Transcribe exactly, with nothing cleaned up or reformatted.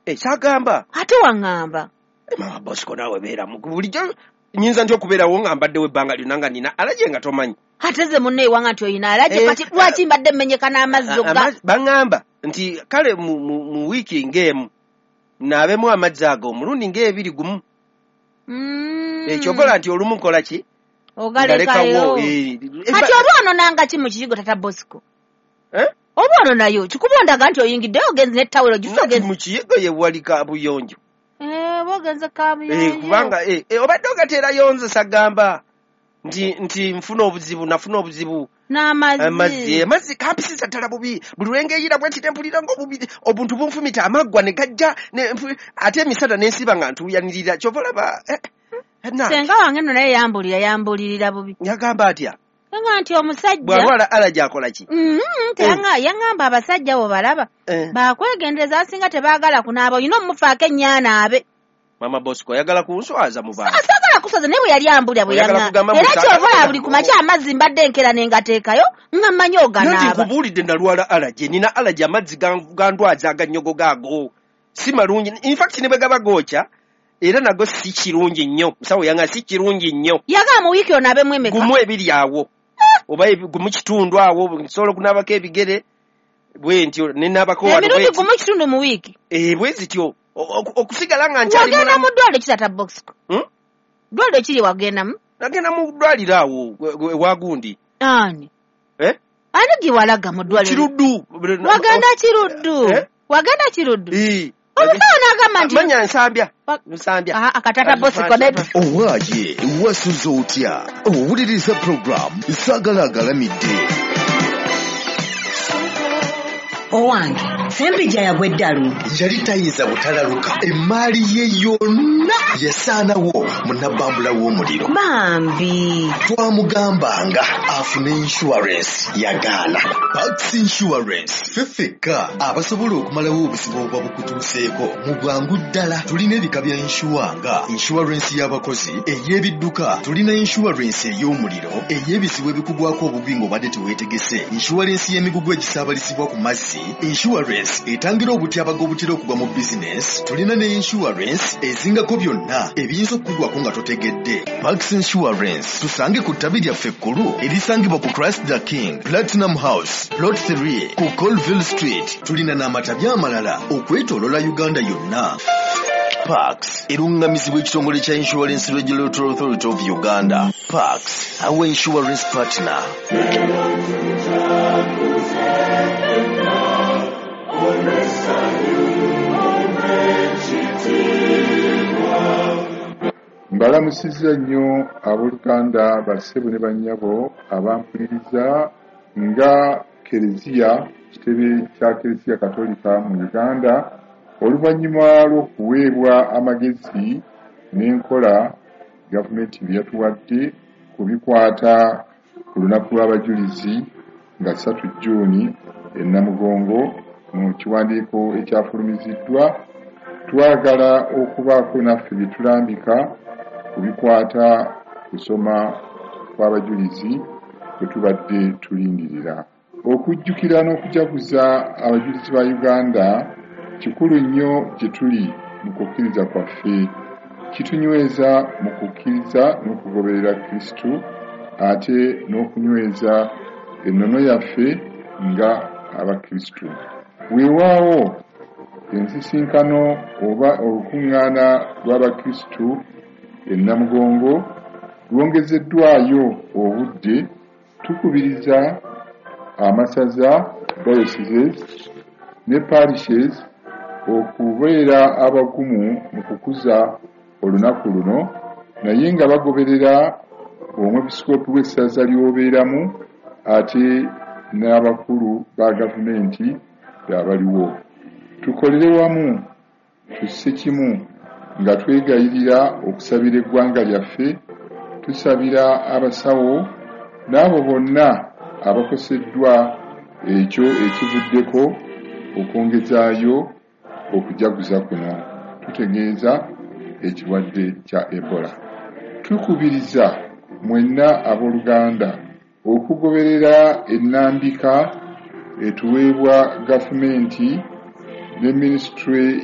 Eh, Kyagamba. Ate waŋŋamba. Eh, Mama Bosco, naawe beeramu. Bulijjo nyinza ntya okubeerawo nga mbaddewo ebbanga lyonna nga nina alaje nga tomanyi? Ate ze munne ewanga nti oyina alaje. Eh, Kati lwaki mbadde mmenyeka n'amazzi A- oga? amazzi- baŋŋamba nti kale mu, mu, mu wiiki ng'emu naabemu amazzi ago omulundi ng'ebiri gumu. Mm. Eh, ky'okola nti olumu nkola ki? Ogalekayo. Ngalekawo, eh, Kati oba ononanga ki mu kiyigo, Tata Bosco? Eh? Oba ononayo kikuba ondaga nti oyingiddeyo ogenze n'ettawulo gisa Nti ogenze mu kiyigo ye wali kabuyonjo. Eh, oba ogenze Eh, kabuyonjo. Kubanga eh, eh, obadde ogateerayo nze sagamba nti nti nfuna obuzibu, nafuna obuzibu n'amazzi. Amazzi, amazzi kampisiza ddala bubi. Buli lwengeyira bwe nti nempulira ng'obubi obuntu bunfumita amaggwa ne gajja ne nfu- ate emisana nensiba nga ntuuyanirira, kyova olaba eh, eh, na Senga wange nno naye yambulira yambulirira bubi. Yagamba atya? Yanga nti omusajja bw'alwala alaja akola ki? Mhm, teyanga- yaŋŋamba abasajja bo balaba Eh, bakwegendereza, abasinga tebaagala kunaaba, olina omufaako ennyaanaabe. Mama Bosco, oyagala kunswaza mu bantu. Saagala kusaza, naye bwe yali ambulira bwe Oyagala yaŋŋamba kugamba era mbu kyova olaba saagala- buli ku makya amazzi mbadde enkeera ne ngateekayo nga mmanyi Nanti oganaaba. nkubuulidde, nalwala alaje, nina alaje, amazzi gan- gandwaza agannyogo gaago si malungi. Infact ne bwe gaba gookya era nago si kirungi nnyo. Musawo yanga si kirungi nnyo. Yagamba mu wiiki onaabemu emeka? Gumu ebiri awo oba ebi- gumu kitundu awo nsobola okunaabako ebigere bwe ntyo nenaabako wano Emirundi bwe gumu kitundu mu wiiki? Eh, bwe zityo. O- oku- okusigala nga nkyali Wagenda mulamu. mu ddwaliro ki, Tata Bosco? Hmm? Ddwaliro kiri wagendamu? Nagenda mu ddwaliro awo gwe- gwe- ewa gundi. Ani? Eh? Ani gye walaga mu ddwaliro? Kiruddu. Wagenda Kiruddu? Eh? Wagenda Kiruddu? Eh. Omusawo n'agamba nti Manya Nsambya. Wa- Nsambya. Ah, akatata Bosco nedda. Owaaye, wasuze otya? Owuliriza puroguramu Saagala Agalamidde. Owange, Sempijja yagwa eddalu. Yali tayinza butalaluka, emaali ye yonna yasaanawo mu nabbambula w'omuliro. Bambi. Twamugambanga afune insurance, yagaana. Pax Insurance ffe ffekka abasobola okumalawo obuzibu obuba bukutuuseeko mu bwangu ddala. Tulina ebika bya insure nga insurance y'abakozi, ey'ebidduka, tulina insurance ey'omuliro, ey'ebizibu ebikugwako obubi ng'obadde teweetegese, insurance y'emigugu egisaabalizibwa ku mazzi, insurance etangira obutyabaga obutera okugwa mu bizinesi. Tulina ne insurance ezingako byonna ebiyinza okukugwako nga totegedde. Pax Insurance tusange ku ttabi lyaffe ekkulu erisangibwa ku Christ the King Platinum House, Plot three, ku Colville Street. Tulina n'amatabi amalala okwetoolola Uganda yonna. Pax eruŋŋamizibwa ekitongole kya Insurance Regulatory Authority of Uganda. Pax, our insurance partner. Mbalamusizza nnyo abooluganda, bassebo ne bannyabo abampuliriza. Nga Kereziya, kitebe kya Kereziya Katolika mu Uganda, oluvannyuma lw'okuweebwa amagezi n'enkola gavumenti bye yatuwadde ku bikwata ku lunaku lw'abajulizi nga ssatu Jjuuni e Namugongo, mu kiwandiiko ekyafulumiziddwa, twagala okubaako naffe bye tulambika ku bikwata kusoma kw'abajulizi bwe tubadde tulindirira. Okujjukira n'okujaguza abajulizi ba Uganda kikulu nnyo gye tuli mu kukkiriza kwaffe. Kitunyweza mu kukkiriza n'okugoberera Kristu, ate n'okunyweza ennono yaffe nga Abakristu. Weewaawo ensisinkano oba olukuŋŋaana lw'Abakristu e Namugongo lwongezeddwayo obudde, tukubiriza amasaza, dioceses ne parishes okubeera abagumu mu kukuza olunaku luno, naye nga bagoberera omwepisikoopi w'essaza ly'obeeramu ate n'abakulu ba gavumenti abaliwo. Tukolere wamu, tusse kimu nga twegayirira okusabira eggwanga lyaffe, tusabira abasawo n'abo bonna abakoseddwa ekyo ekivuddeko okwongezaayo okujaguza kuno, tutegeeza ekirwadde kya Ebola. Tukubiriza mwenna abooluganda okugoberera ennambika etuweebwa gavumenti ne minisitule.